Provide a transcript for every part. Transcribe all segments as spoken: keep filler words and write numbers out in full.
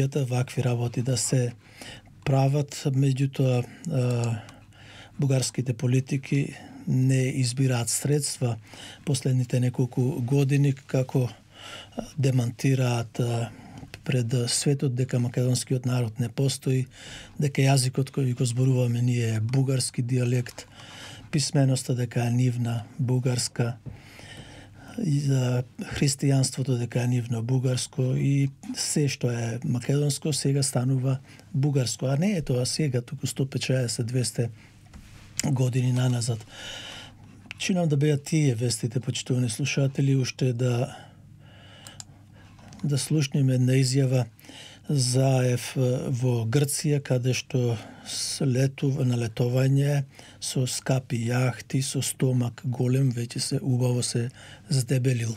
вакви работи да се прават, меѓутоа бугарските политики не избираат средства последните неколку години како демантираат пред светот дека македонскиот народ не постои, дека јазикот кој го зборуваме ние е бугарски дијалект, писменоста дека е нивна бугарска, и за христијанството дека е нивно бугарско и се што е македонско сега станува бугарско, а не е тоа сега, туку сто печаесет двесте години наназад. Чинам да беа тие вестите, почитувани слушатели, уште да да слушнеме една изјава Заев во Грција, каде што летува на летовање со скапи јахти, со стомак голем, веќе се убаво се здебелил.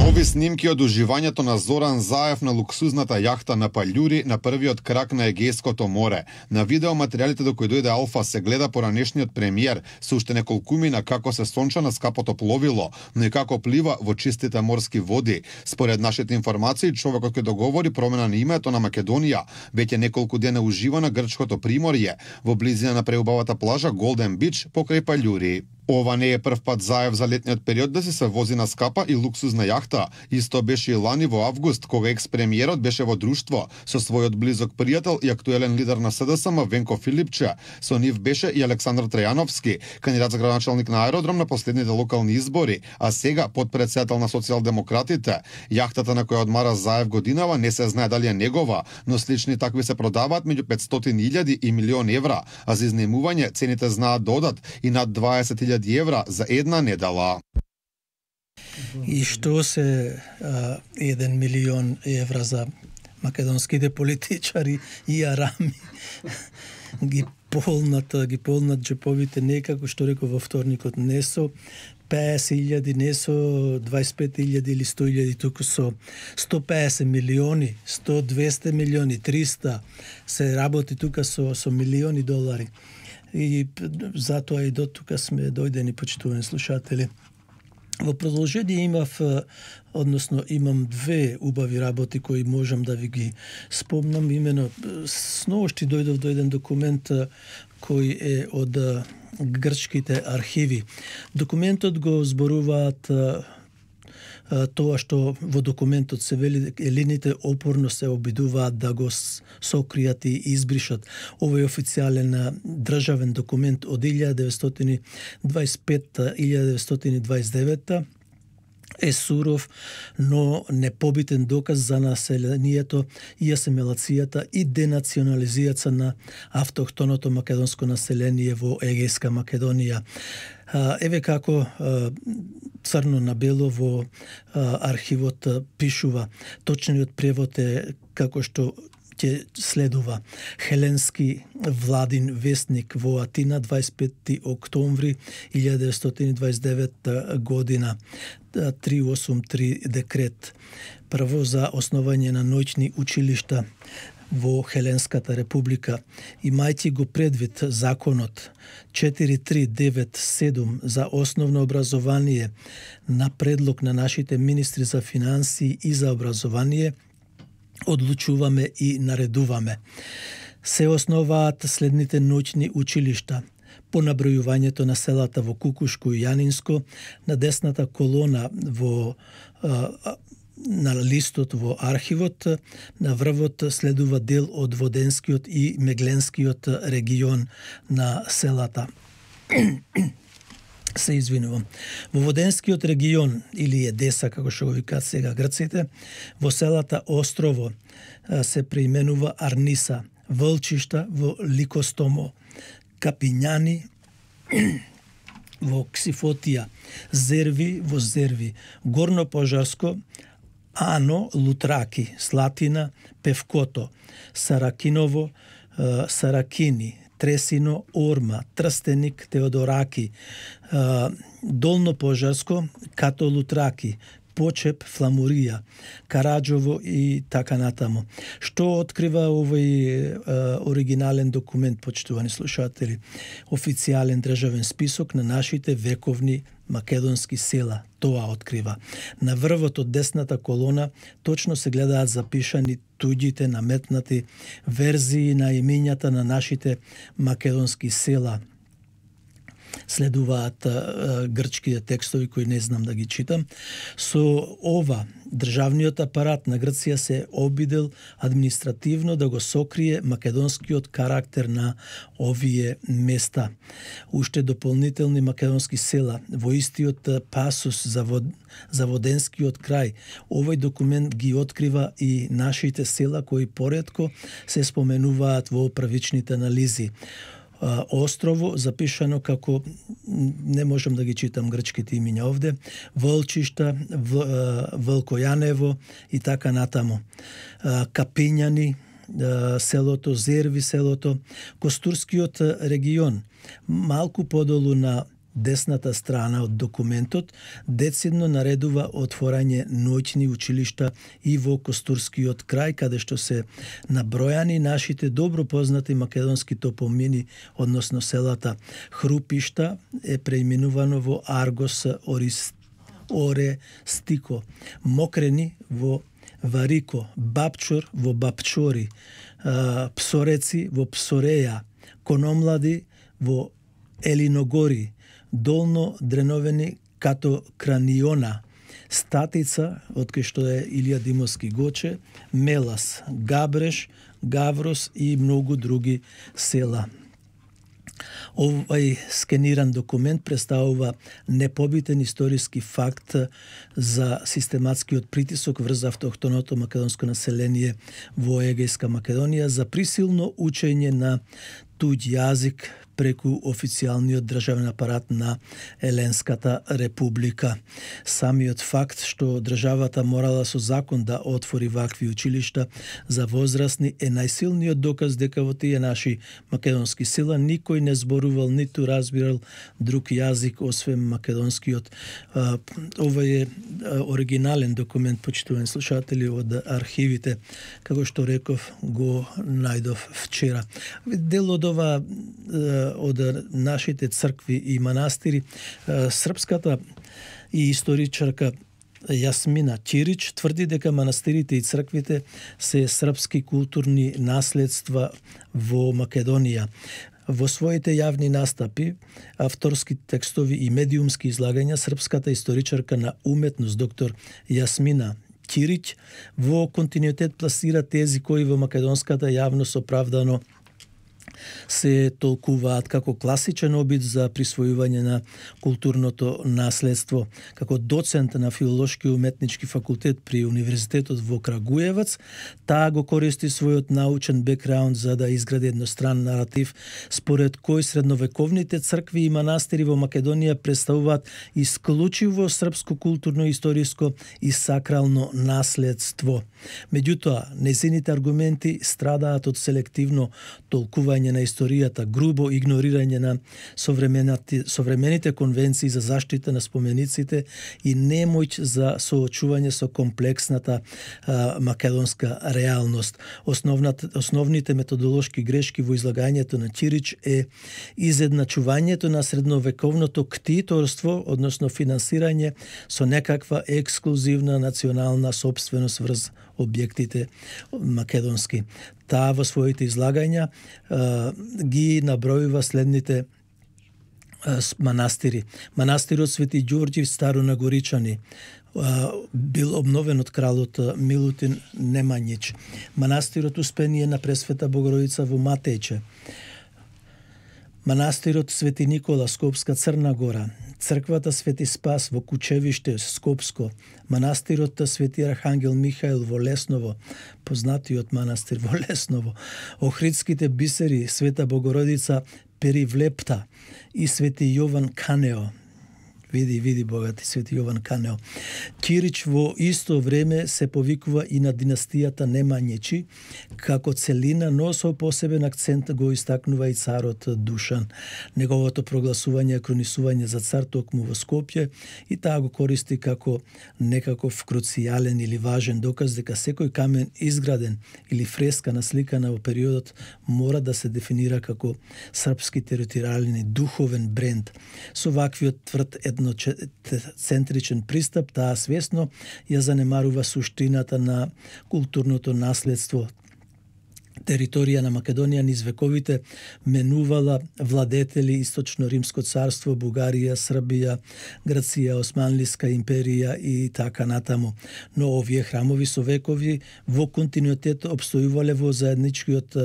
Нови снимки од уживањето на Зоран Заев на луксузната јахта на Паљури на првиот крак на Егејското море. На видеоматеријалите до кои дојде Алфа се гледа поранешниот премиер со уште неколку мина како се сонча на скапото пловило, но и како плива во чистите морски води. Според нашите информации, човекот кој договори промена на името на Македонија веќе неколку дена ужива на грчкото приморје во близина на преубавата плажа Голден Бич покрај Паљури. Ова не е прв пат Заев за летниот период да се се вози на скапа и луксузна јахта. Исто беше и лани во август, кога екс-премиерот беше во друштво со својот близок пријател и актуелен лидер на СДСМ Венко Филипче. Со нив беше и Александар Трајановски, кандидат за градоначалник на аеродром на последните локални избори, а сега подпредседател на социјалдемократите. Јахтата на која одмара Заев годинава не се знае дали е негова, но слични такви се продаваат меѓу петстотини илјади и милион евра, а за изнемување цените знаат да одат и над дваесет илјади евра за една недела. И што се а, еден милион евра за македонските политичари и арами ги полнат, ги полнат джеповите некако, што реков во вторникот, не со песет илјади, не со дваесет пет илјади или сто илјади, туку со сто песет милиони, сто двесте милиони, триста, се работи тука со, со милиони долари. И затоа и до тука сме дојдени, почитувани слушатели. Во продолжение имав, односно имам две убави работи кои можам да ви ги спомнам. Имено сношти дојдов до еден документ кој е од грчките архиви. Документот го зборуваат тоа што во документот се вели, елините опорно се обидуваат да го сокријат и избришат. Овој официјален државен документ од илјада деветстотини дваесет петта - илјада деветстотини дваесет девета е суров, но непобитен доказ за населението и асимилацијата и денационализијата на автохтоното македонско население во Егејска Македонија. Еве како црно на бело во архивот пишува. Точниот превод е како што ќе следува. Хеленски владин вестник во Атина, дваесет пети октомври илјада деветстотини дваесет девета година, триста осумдесет и три декрет. Прво за основање на ноќни училишта во Хеленската република, имајќи го предвид законот четири три девет седум за основно образование на предлог на нашите министри за финансии и за образование, одлучуваме и наредуваме. Се основаат следните ноќни училишта. По набројувањето на селата во Кукушко и Јанинско, на десната колона во на листот во архивот, на врвот следува дел од Воденскиот и Мегленскиот регион на селата. Се извинувам. Во Воденскиот регион, или Едеса, како што го викаат сега грците, во селата Острово се преименува Арниса, Вълчишта во Ликостомо, Капињани во Ксифотија, Зерви во Зерви, Горно Пожарско, Ано, Лутраки, Слатина, Певкото, Саракиново, Саракини, Тресино, Орма, Трстеник, Теодораки, Долно Пожарско, Като Лутраки, Почеп, Фламурија, Караџово и така натаму. Што открива овој оригинален документ, почитувани слушатели? Официјален државен список на нашите вековни македонски села, тоа открива. На врвот од десната колона точно се гледаат запишани туѓите наметнати верзии на имињата на нашите македонски села. Следуваат а, грчките текстови кои не знам да ги читам. Со ова државниот апарат на Грција се обидел административно да го сокрие македонскиот карактер на овие места. Уште дополнителни македонски села во истиот пасус за, вод, за Воденскиот крај. Овој документ ги открива и нашите села кои поретко се споменуваат во првичните анализи. Острово, запишано како, не можам да ги читам грчките имиња овде, Волчишта, Волкојанево и така натаму. Капињани, селото, Зерви селото, Костурскиот регион, малку подолу на десната страна од документот, децидно наредува отворање ноќни училишта и во Костурскиот крај, каде што се набројани нашите добро познати македонски топомини, односно селата Хрупишта е преименувано во Аргос Орис, Оре Стико, Мокрени во Варико, Бапчор во Бапчори, Псореци во Псореја, Кономлади во Елиногори, Долно Дреновени като Краниона, Статица, од кај што е Илија Димовски Гоче, Мелас, Габреш, Гаврос и многу други села. Овај скениран документ представува непобитен историски факт за систематскиот притисок врз автохтоното македонско население во Егејска Македонија за присилно учење на туѓ јазик преку официјалниот државен апарат на Еленската република. Самиот факт што државата морала со закон да отвори вакви училишта за возрастни е најсилниот доказ дека во тие наши македонски села никој не зборувал ниту разбирал друг јазик освен македонскиот. Ова е оригинален документ, почитувани слушатели, од архивите, како што реков, го најдов вчера. Дел од ова од нашите цркви и манастири, српската и историчарка Јасмина Ќирич тврди дека манастирите и црквите се српски културни наследства во Македонија. Во своите јавни настапи, авторски текстови и медиумски излагања, српската историчарка на уметност доктор Јасмина Ќирич во континуитет пласира тези кои во македонската јавност оправдано се толкуваат како класичен обид за присвојување на културното наследство. Како доцент на филолошки и уметнички факултет при Универзитетот во Крагуевац, таа го користи својот научен бекграунд за да изгради едностран наратив според кој средновековните цркви и манастири во Македонија представуваат исклучиво српско културно, историско и сакрално наследство. Меѓутоа, нејзините аргументи страдаат од селективно толкување на историјата, грубо игнорирање на современите конвенции за заштита на спомениците и немоќ за соочување со комплексната а, македонска реалност. Основните методолошки грешки во излагањето на Ќирич е изедначувањето на средновековното ктиторство, односно финансирање со некаква ексклузивна национална собственост врз објектите македонски. Таа во своите излагања а, ги набројува следните а, манастири. Манастирот Свети Ѓорѓи Старо на Горичани а, бил обновен од кралот Милутин Немањич. Манастирот Успение на Пресвета Богородица во Матејче. Манастирот Свети Никола, Скопска Црна Гора, црквата Свети Спас во Кучевиште, Скопско, манастирот Свети Архангел Михаил во Лесново, познатиот манастир во Лесново, Охридските бисери Света Богородица Перивлепта и Свети Јован Канео. Види, види богати Свети Јован Канео. Ќирич во исто време се повикува и на династијата Немањичи како целина, но со посебен акцент го истакнува и царот Душан. Неговото прогласување и кронисување за цар токму во Скопје и таа го користи како некаков круцијален или важен доказ дека секој камен изграден или фреска насликана во периодот мора да се дефинира како српски територијален духовен бренд. Со ваквиот тврд една етноцентричен пристап, таа свесно ја занемарува суштината на културното наследство. Територија на Македонија низ вековите менувала владетели Источно Римско царство, Бугарија, Србија, Грција, Османлиска империја и така натаму. Но овие храмови со векови во континуитет обстојувале во заедничкиот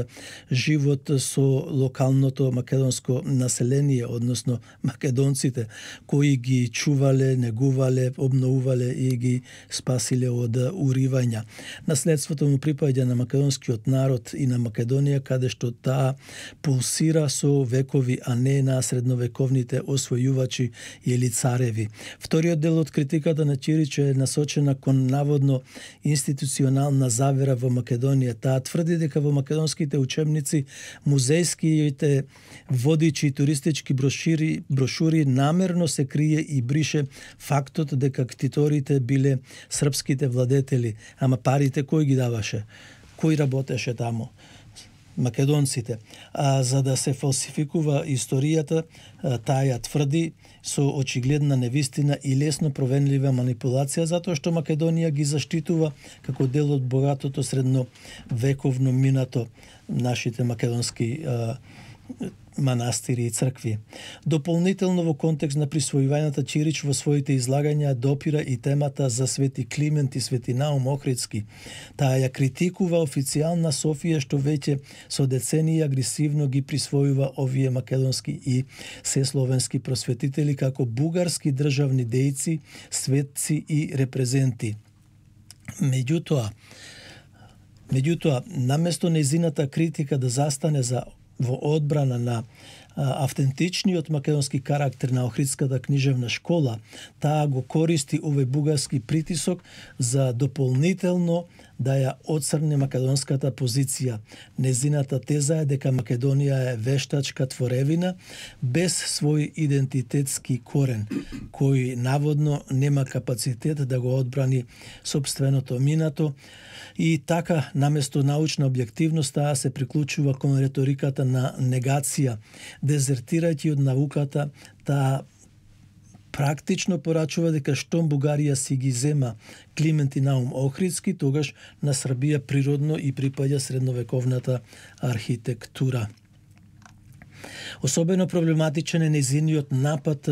живот со локалното македонско население, односно македонците, кои ги чувале, негувале, обновувале и ги спасиле од уривања. Наследството му припаѓа на македонскиот народ и на Македонија, каде што таа пулсира со векови, а не на средновековните освојувачи или цареви. Вториот дел од критиката на Чирич е насочена кон наводно институционална завера во Македонија. Таа тврди дека во македонските учебници, музејските водичи и туристички брошури, брошури намерно се крие и брише фактот дека ктиторите биле српските владетели, ама парите кој ги даваше? Кој работеше таму? Македонците. А за да се фалсификува историјата, таа ја тврди со очигледна невистина и лесно провенлива манипулација, затоа што Македонија ги заштитува како дел од богатото средновековно минато нашите македонски а, манастири и цркви. Дополнително во контекст на присвојувањата, Чирич во своите излагања допира и темата за Свети Климент и Свети Наум Охридски. Таа ја критикува официјална Софија што веќе со децении агресивно ги присвојува овие македонски и сесловенски просветители како бугарски државни дејци, светци и репрезенти. Меѓутоа, меѓутоа, наместо нејзината критика да застане за во одбрана на а, автентичниот македонски карактер на Охридската книжевна школа, таа го користи овој бугарски притисок за дополнително да ја оцрне македонската позиција. Незината теза е дека Македонија е вештачка творевина без свој идентитетски корен, кој наводно нема капацитет да го одбрани сопственото минато, и така, наместо научна објективност, таа се приклучува кон реториката на негација, дезертирајќи од науката, таа практично порачува дека штом Бугарија си ги зема Климент и Наум Охридски, тогаш на Србија природно и припаѓа средновековната архитектура. Особено проблематичен е незиниот напад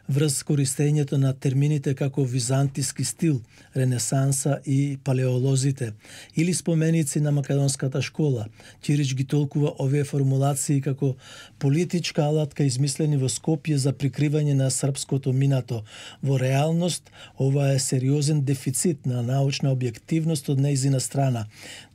врз користењето на термините како византиски стил, ренесанса и палеолозите, или споменици на македонската школа. Чирич ги толкува овие формулации како политичка алатка измислени во Скопје за прикривање на српското минато. Во реалност, ова е сериозен дефицит на научна објективност од нејзина страна.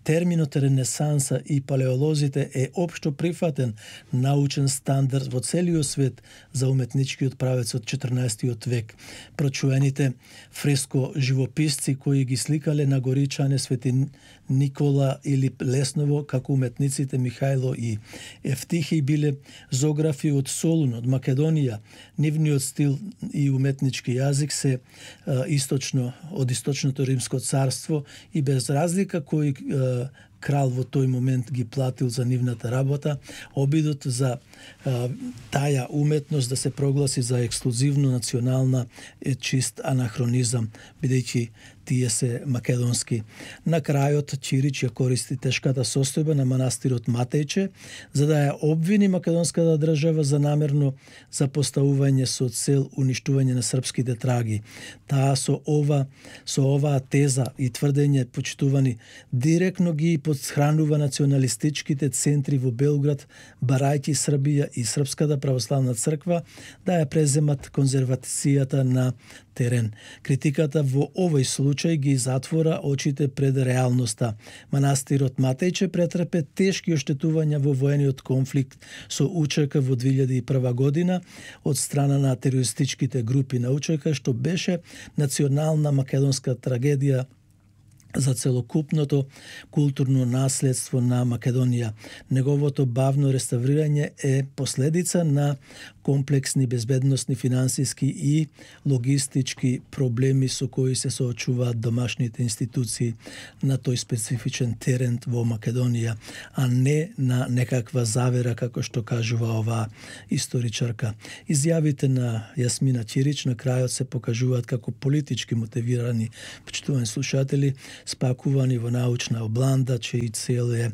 Терминот ренесанса и палеолозите е општо прифатен научен стандард во целиот свет за уметничкиот правец од четрнаесеттиот век. Прочуените фреско живописци кои ги сликале на Горичане, Свети Никола или Лесново, како уметниците Михајло и Ефтихи, биле зографи од Солун, од Македонија. Нивниот стил и уметнички јазик се а, источно, од источното Римско царство и без разлика кој а, крал во тој момент ги платил за нивната работа, обидот за а, таја уметност да се прогласи за ексклузивно национална е чист анахронизам, бидејќи тие се македонски. На крајот Чирич ја користи тешката состојба на манастирот Матејче за да ја обвини македонската држава за намерно запоставување со цел уништување на српските траги. Таа со ова со оваа теза и тврдење, почитувани, директно ги подхранува националистичките центри во Белград, барајќи Србија и Српската православна црква да ја преземат конзервацијата на терен. Критиката во овој случај ги затвора очите пред реалноста. Манастирот Матејче претрпе тешки оштетувања во воениот конфликт со УЧК во две илјади и прва година од страна на терористичките групи на УЧК, што беше национална македонска трагедија за целокупното културно наследство на Македонија. Неговото бавно реставрирање е последица на комплексни безбедносни, финансиски и логистички проблеми со кои се соочуваат домашните институции на тој специфичен терен во Македонија, а не на некаква завера, како што кажува оваа историчарка. Изјавите на Јасмина Ќирич на крајот се покажуваат како политички мотивирани, почитувани слушатели, спакувани во научна обланда, чиј цел е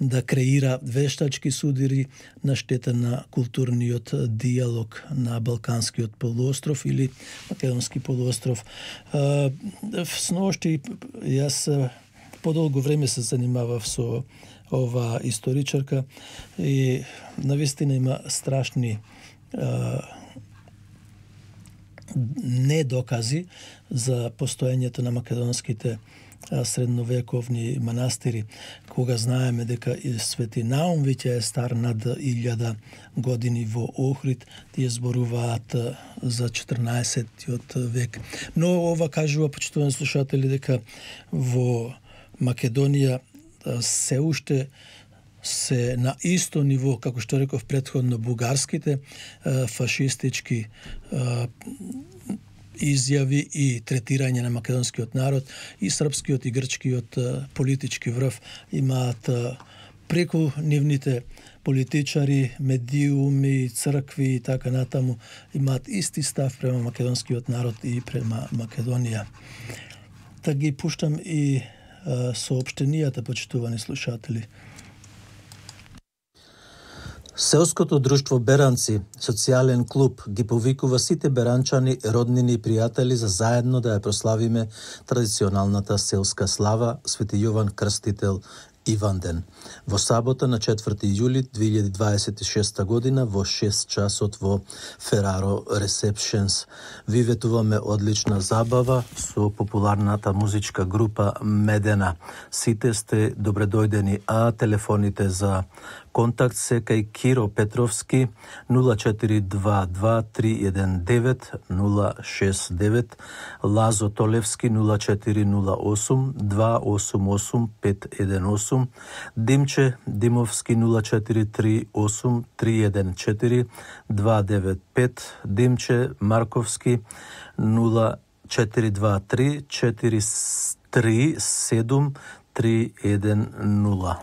да креира вештачки судири на штета на културниот диалог на Балканскиот полуостров или Македонски полуостров. Сношти јас подолго време се занимавав со ова историчарка и навистина има страшни недокази за постоењето на македонските средновековни манастири, кога знаеме дека и Свети Наум веќе е стар над илјада години во Охрид, тие зборуваат за четрнаесеттиот век. Но ова кажува, почитувани слушатели, дека во Македонија се уште се на исто ниво, како што реков претходно, бугарските фашистички изјави и третирање на македонскиот народ и српскиот и грчкиот политички врв имаат преку нивните политичари, медиуми, цркви и така натаму, имаат исти став према македонскиот народ и према Македонија. Та ги пуштам и соопштенијата, почитувани слушатели. Селското друштво Беранци, социјален клуб, ги повикува сите беранчани, роднини и пријатели за заедно да ја прославиме традиционалната селска слава Свети Јован Крстител Иванден. Во сабота на четврти јули две илјади дваесет и шеста година во шест часот во Фераро Ресепшенс. Ви ветуваме одлична забава со популарната музичка група Медена. Сите сте добредојдени, а телефоните за контакт се кај Киро Петровски нула четири два два три еден девет нула шест девет, Лазо Толевски нула четири нула осум два осум осум пет еден осум, Димче Димовски нула четири три осум три еден четири два девет пет, Димче Марковски нула четири два три четири три седум три еден нула.